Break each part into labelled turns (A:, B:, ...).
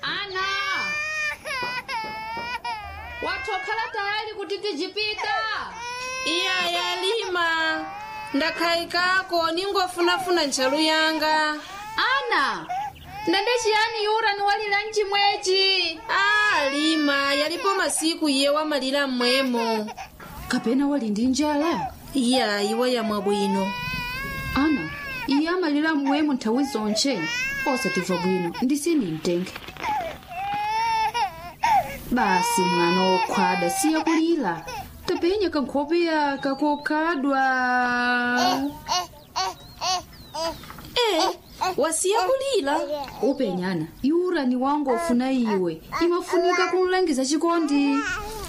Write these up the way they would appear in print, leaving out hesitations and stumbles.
A: Ana, watokhala tayari kuti tijipita?
B: Iya yalima, ndakhayikako ningofunafuna ntchalu yanga.
A: Ana, ndende chiyani yura niwalira mchimwechi?
B: Ah, lima, yalipo masiku iye wamalira mmwemo.
A: Kapena wali ndi njala?
B: Iya, iwa yamwa bwino.
A: Ana, iye amalira mmwemo nthawi zonche, osatimva bwino ndisini mtenge. Basi mwana wokhwada, siye kulira, tapenya kankhope yaka kokhadwa.
B: Eh, wasiya kulira?
A: Upenyana yura ni wangu ofuna iwe, imafunika kumlangiza chikondi.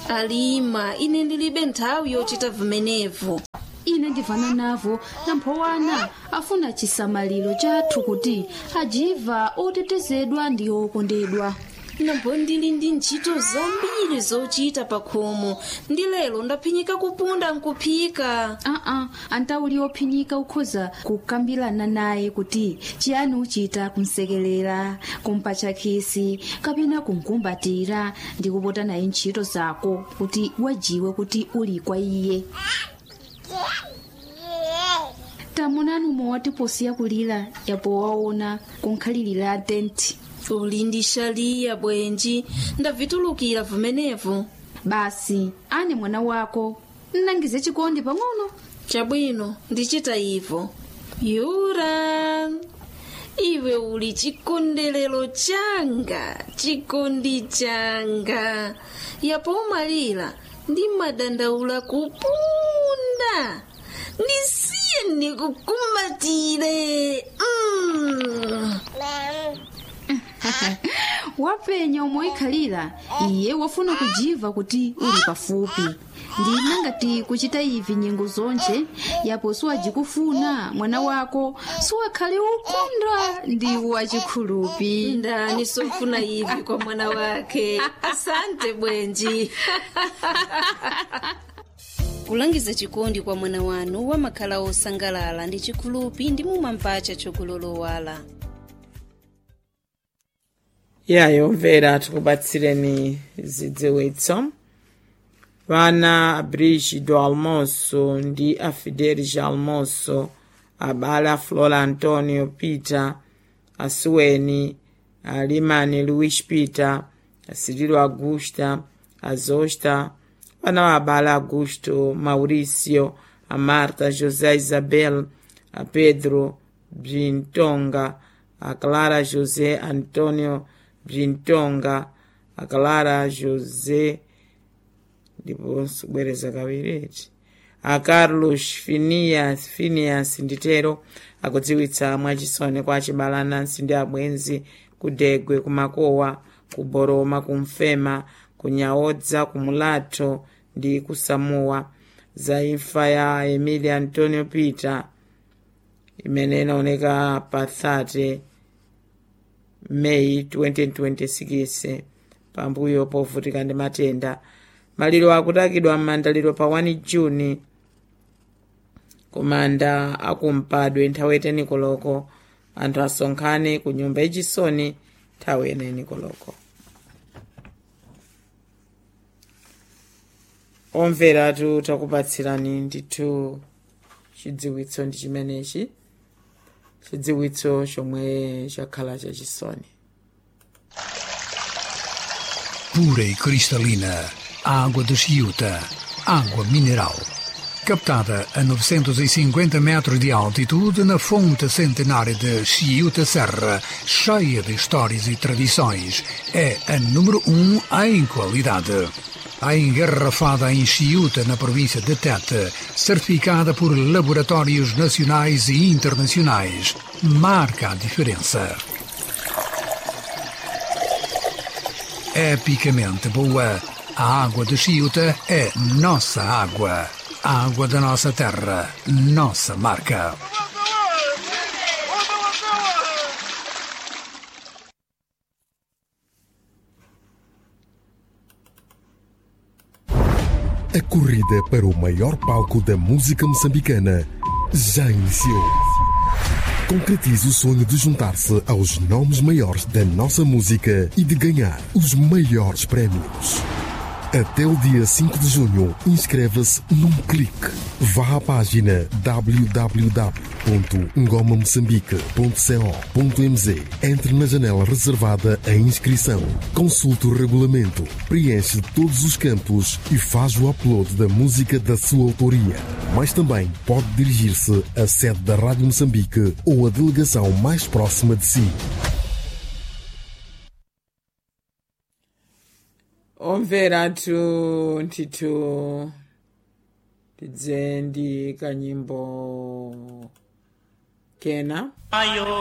B: Alima, ine ndilibe nthawi yochita vimenevo.
A: Ine ndivana navo, namphowana afuna chisamaliro chathu kuti ajiva otetezedwa ndi okondedwa.
B: Nambo ndili ndi ntchito zambiri zochita pa khomo, ndi lero ndaphinyika kupunda nkuphika.
A: Aa, antauli ophinyika ukhoza kukambirana naye kuti chiyani uchita kumsekelera, kumpatcha khisi kapena kumkumbatira ndi kupota naye ntchito zako kuti wajiwe kuti uli kwa iye. Tamunani umwe watiposiya kulira yapo waona kunkhalirira tenti.
B: Uli ndi xaliya bwenji, ndavitulukira vimenevo.
A: Basi ane mwana wako nnangize chikondi pang'ono.
B: Chabwino, ndichita ivo. Yura, iwe uli chikondelero changa, chikondi changa. Yapo umalira ndi madandaula kupunda. Ndisiye ndikukumbatire.
A: Wapenya umoikhalira, iye wafuna kujiva kuti uli pafupi. Ndina ngati kuchita ivi nyengo zonche, yapo siwajikufuna mwana wako siwakhale ukunda ndi wachikhulupi.
B: Ndani sofuna ivi kwa mwana wake? Asante bwenji. Kulangiza chikondi kwa mwana wanu wamakhala osangalala ndi chikhulupi ndi mumampacha chokulolowala.
C: Yayomvera, tikubatsireni zidziwitso. Vana a Brígido Almoço ndi a Fidelis Almoço, abale a Flora Antonio Peter, a Sueni, a Limani Luís Peter, a Cirilo Augusta, a Zosta, vana va abale Augusto Maurício, a Marta José Isabel, a Pedro Brintonga, a Clara José Antonio Brintonga, a Clara José, ndiponso kubwereza kawiriti, a Carlos Finias, Finias nditero akudziwitsa mwachisoni kwa achibale, anansi ndi abwenzi kudegwe, kumakowa, kuboroma, kumfema, kunyaodza, kumulatho ndi kusamuwa za imfa ya Emilia Antonio Peter imene inaoneka pa 30 Meyi 2026 pambuyo povutika ndi matenda. Maliro akutakidwa m'mandaliro pa 1 Juni kumanda akumpadwe nthawi 10 koloko. Anthu asonkhane ku nyumba yachisoni nthawi 9 koloko. Omveratu, takupatsirani ndithu chidziwitso ndi chimenechi, chidziwitso chomwe chakhala chachisoni.
D: Pura e cristalina, a água de Chiuta, água mineral. Captada a 950 metros de altitude na fonte centenária de Chiuta Serra, cheia de histórias e tradições, é a número 1 em qualidade. A engarrafada em Chiuta, na província de Tete, certificada por laboratórios nacionais e internacionais, marca a diferença. Epicamente boa, a água de Chiuta é nossa água. A água da nossa terra, nossa marca.
E: A corrida para o maior palco da música moçambicana já iniciou. Concretize o sonho de juntar-se aos nomes maiores da nossa música e de ganhar os maiores prémios. Até o dia 5 de junho, inscreva-se num clique. Vá à página www.ngomamoçambique.co.mz. Entre na janela reservada à inscrição. Consulte o regulamento, preenche todos os campos e faz o upload da música da sua autoria. Mas também pode dirigir-se à sede da Rádio Moçambique ou à delegação mais próxima de si.
C: Omvera athu ntithu tidze ndi kanyimbo kena.
F: Ayo.